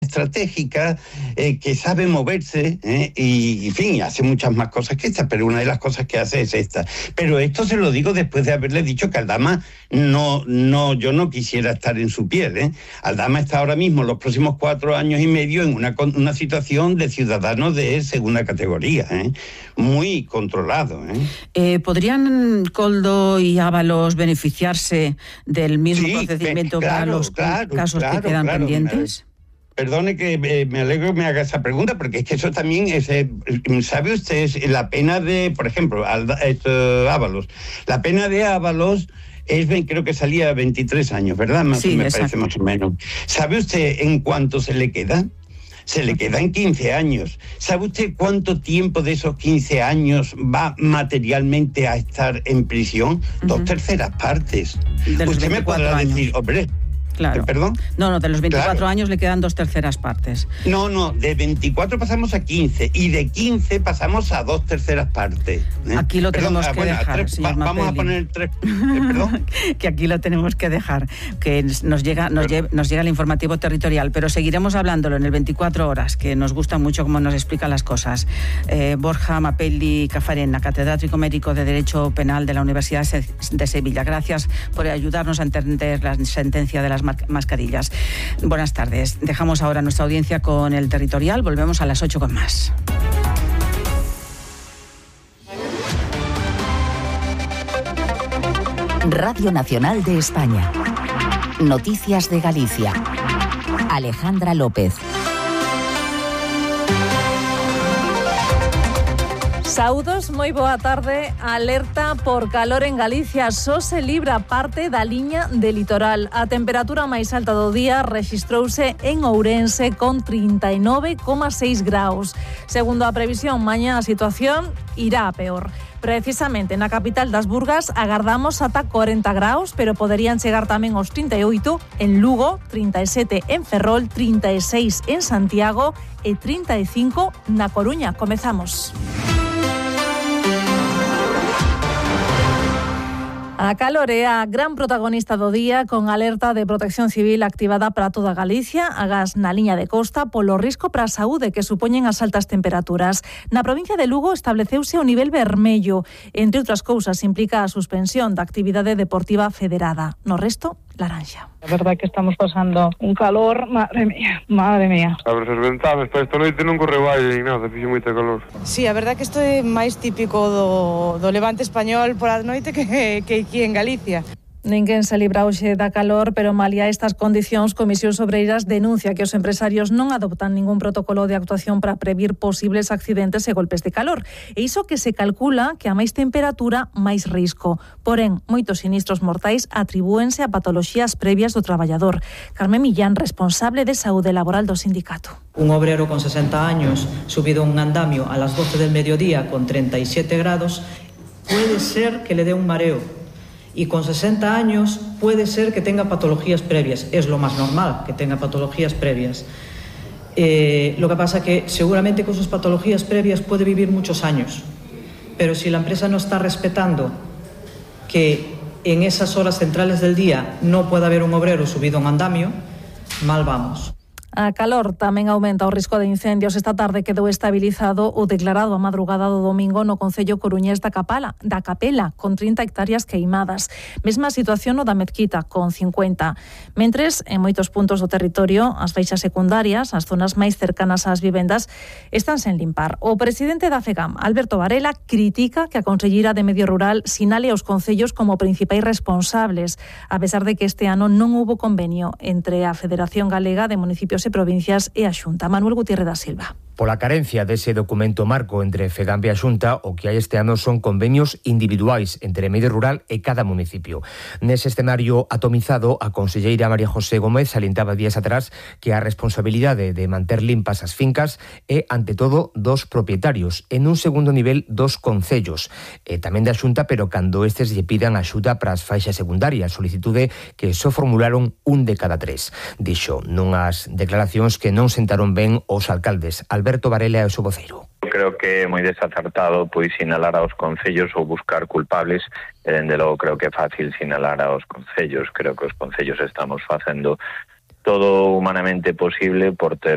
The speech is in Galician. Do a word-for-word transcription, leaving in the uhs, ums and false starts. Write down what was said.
estratégica, eh, que sabe moverse, eh, y, en fin, hace muchas más cosas que esta, pero una de las cosas que hace es esta. Pero esto se lo digo después de haberle dicho que Aldama no, no, yo no quisiera estar en su piel, ¿eh? Aldama está ahora mismo, los próximos cuatro años y medio, en una, una situación de ciudadano de segunda categoría, ¿eh? Muy controlado, ¿eh? Eh, ¿Podrían Koldo y Ábalos beneficiarse del mismo sí, procedimiento claro, para los claro, casos claro, que quedan claro, pendientes? Perdone que eh, me alegro que me haga esa pregunta, porque es que eso también es, eh, ¿sabe usted la pena de, por ejemplo, Ábalos? La pena de Ábalos es, creo que salía veintitrés años, ¿verdad? Más sí, me exacto. Parece más o menos. ¿Sabe usted en cuánto se le queda? Se le quedan quince años. ¿Sabe usted cuánto tiempo de esos quince años va materialmente a estar en prisión? Uh-huh. Dos terceras partes. Usted me podrá años. decir, hombre... Claro. ¿Perdón? No, no, de los veinticuatro claro. años le quedan dos terceras partes. No, no, de veinticuatro pasamos a quince y de quince pasamos a dos terceras partes. ¿eh? Aquí lo tenemos perdón, que bueno, dejar, tres, señor va, Vamos a poner tres... Eh, ¿Perdón? Que aquí lo tenemos que dejar, que nos llega, nos, lle, nos llega el informativo territorial, pero seguiremos hablándolo en el veinticuatro horas, que nos gusta mucho cómo nos explica las cosas. Eh, Borja Mapelli Cafarena, catedrático médico de Derecho Penal de la Universidad de Sevilla. Gracias por ayudarnos a entender la sentencia de las mascarillas. Buenas tardes. Dejamos ahora nuestra audiencia con el territorial. Volvemos a las ocho con más. Radio Nacional de España. Noticias de Galicia. Alejandra López. Saúdos, moi boa tarde. Alerta por calor en Galicia. Só se libra parte da liña de litoral. A temperatura máis alta do día rexistrouse en Ourense con trinta e nove coma seis graus. Segundo a previsión, mañá a situación irá a peor. Precisamente na capital das Burgas agardamos ata cuarenta graus, pero poderían chegar tamén aos trinta e oito en Lugo, trinta e sete en Ferrol, trinta e seis en Santiago e trinta e cinco na Coruña. Comezamos. A calor é a gran protagonista do día, con alerta de protección civil activada para toda Galicia, agás na liña de costa, polo risco para a saúde que supoñen as altas temperaturas. Na provincia de Lugo estableceuse o nivel vermello, entre outras cousas implica a suspensión da actividade deportiva federada. No resto, laranxa. A verdade que estamos pasando un calor, madre mía, madre mía. Abres as ventanas, para esta noite non correu aire nin nada, fixo moita calor. Sí, a verdade que isto é máis típico do, do levante español por a noite que, que aquí en Galicia. Ninguén se libra hoxe da calor, pero malia estas condicións, Comisións Obreiras denuncia que os empresarios non adoptan ningún protocolo de actuación para previr posibles accidentes e golpes de calor. E iso que se calcula que a máis temperatura, máis risco. Porén, moitos sinistros mortais atribúense a patoloxías previas do traballador. Carmen Millán, responsable de saúde laboral do sindicato. Un obrero con sesenta años subido un andamio a las doce del mediodía con treinta y siete grados, puede ser que le dé un mareo. Y con sesenta años puede ser que tenga patologías previas. Es lo más normal que tenga patologías previas. Eh, lo que pasa que seguramente con sus patologías previas puede vivir muchos años. Pero si la empresa no está respetando que en esas horas centrales del día no pueda haber un obrero subido a un andamio, mal vamos. A calor tamén aumenta o risco de incendios. Esta tarde quedou estabilizado o declarado a madrugada do domingo no concello coruñés da Capela, da Capela, con trinta hectáreas queimadas. Mesma situación no da Mezquita, con cincuenta. Mentres, en moitos puntos do territorio, as feixas secundarias, as zonas máis cercanas ás vivendas, están sen limpar. O presidente da FEGAM, Alberto Varela, critica que a conselleira de Medio Rural sinale aos concellos como principais responsables, a pesar de que este ano non houbo convenio entre a Federación Galega de Municipios e provincias e a Xunta. Manuel Gutiérrez da Silva. Pola carencia dese documento marco entre FEGAM e a Xunta, o que hai este ano son convenios individuais entre medio rural e cada municipio. Nese escenario atomizado, a conselleira María José Gómez salientaba días atrás que a responsabilidade de manter limpas as fincas é, ante todo, dos propietarios, en un segundo nivel, dos concellos, e tamén da Xunta, pero cando estes lle pidan axuda para as faixas secundarias, solicitude que só formularon un de cada tres. Dixo nunhas declaracións que non sentaron ben os alcaldes. Alberto Varela é o seu voceiro. Creo que é moi desacertado pois sinalar aos concellos ou buscar culpables, e dende logo creo que é fácil sinalar aos concellos. Creo que os concellos estamos facendo todo humanamente posible por ter